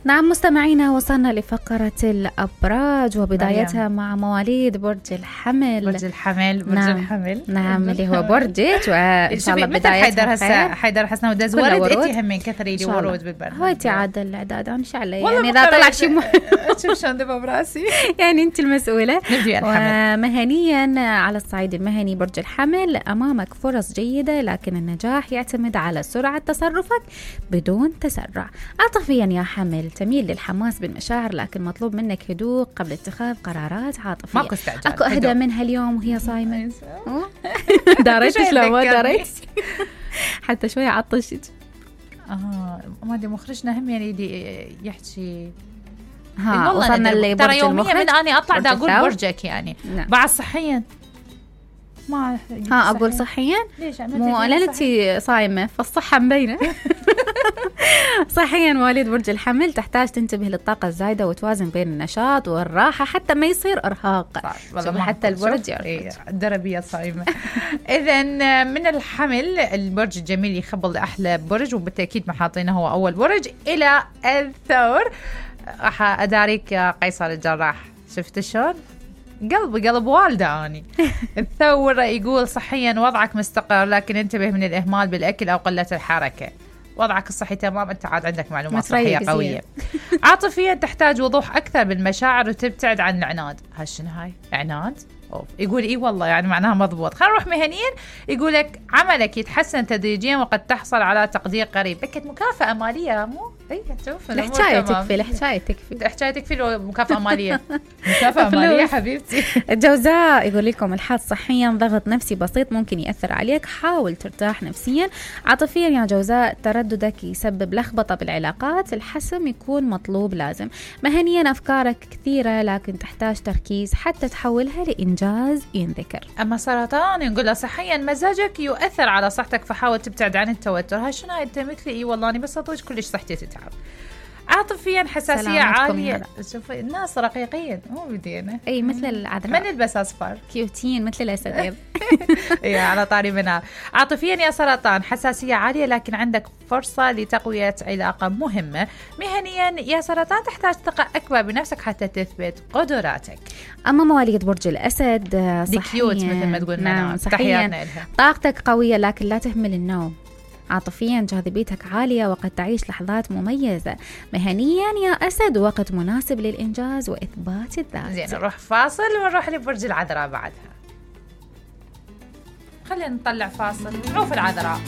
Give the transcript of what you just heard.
نعم مستمعينا، وصلنا لفقرة الأبراج وبدايتها مع مواليد برج الحمل. برج الحمل نعم اللي هو برجك، وإن شاء الله بدايتها خير. حيدر حسنا ودز ورد انتي همين كثري لي ورود بالبرنامج. هاي انتي عاد الإعداد ان شاء الله، يعني إذا طلع شيء شوف شلون دبا براسي يعني انت المسؤولة. نبدأ الحمل. مهنيا على الصعيد المهني برج الحمل أمامك فرص جيدة، لكن النجاح يعتمد على سرعة تصرفك بدون تسرع. عاطفيا يا حمل تميل للحماس بالمشاعر، لكن مطلوب منك هدوء قبل اتخاذ قرارات عاطفية. ماكو استعجال. اكو اهدى منها اليوم وهي صايمة. داريتش لو ما داريت حتى شوية عطشت. ما ادري مخرجنا هم يعني يحكي. وصلنا اللي ترى يوميا من اني اطلع دا اقول برجك يعني. نعم. بعد صحيا ما اقول صحيا مو انا انتي صايمه فالصحه مبينه. صحيا مواليد برج الحمل تحتاج تنتبه للطاقه الزايده وتوازن بين النشاط والراحه حتى ما يصير ارهاق. حتى البرج الدربيه صايمه. اذا من الحمل البرج الجميل يخبل احلى برج، وبالتاكيد ما حاطينه هو اول برج. الى الثور راح اداريك يا قيصر الجراح. شفت شلون قلب والده اني. الثور يقول صحيا وضعك مستقر، لكن انتبه من الاهمال بالاكل او قله الحركه. وضعك الصحي تمام، انت عاد عندك معلومات صحيه قويه. عاطفيا تحتاج وضوح اكثر بالمشاعر وتبتعد عن العناد. شنو هاي عناد؟ يقول اي والله يعني معناها مضبوط. خلينا نروح مهنيا. يقول لك عملك يتحسن تدريجيا وقد تحصل على تقدير قريب. بكت مكافأة مالية مو شوف الحكاية تكفي. الحكاية تكفي لو مكافأة مالية. مكافأة مالية حبيبتي. الجوزاء يقول لكم الحظ صحيا ضغط نفسي بسيط ممكن يأثر عليك، حاول ترتاح نفسيا. عاطفيا يا جوزاء ترددك يسبب لخبطة بالعلاقات، الحسم يكون مطلوب لازم. مهنيا أفكارك كثيرة لكن تحتاج تركيز حتى تحولها لإنجاز ينذكر. أما سرطان يقول له صحيا مزاجك يؤثر على صحتك فحاول تبتعد عن التوتر. هاي شنو هاي انت مثلي؟ اي والله أنا بس أطوج كلش صحتي تتعب. عاطفيا حساسية عالية. شوفي الناس رقيقين مو بدينا اي مثل العذراء، ما نلبس اصفر كيوتين مثل الاسد. اي على طاري منها. عاطفيا يا سرطان حساسية عالية لكن عندك فرصة لتقوية علاقة مهمة. مهنيا يا سرطان تحتاج ثقة أكبر بنفسك حتى تثبت قدراتك. أما مواليد برج الأسد صحيا مثل ما تقول. نعم صحيا طاقتك قوية لكن لا تهمل النوم. عاطفيا جاذبيتك عالية وقد تعيش لحظات مميزة. مهنيا يا أسد وقت مناسب للإنجاز وإثبات الذات. زين نروح فاصل ونروح لبرج العذراء بعدها. خلينا نطلع فاصل نشوف العذراء.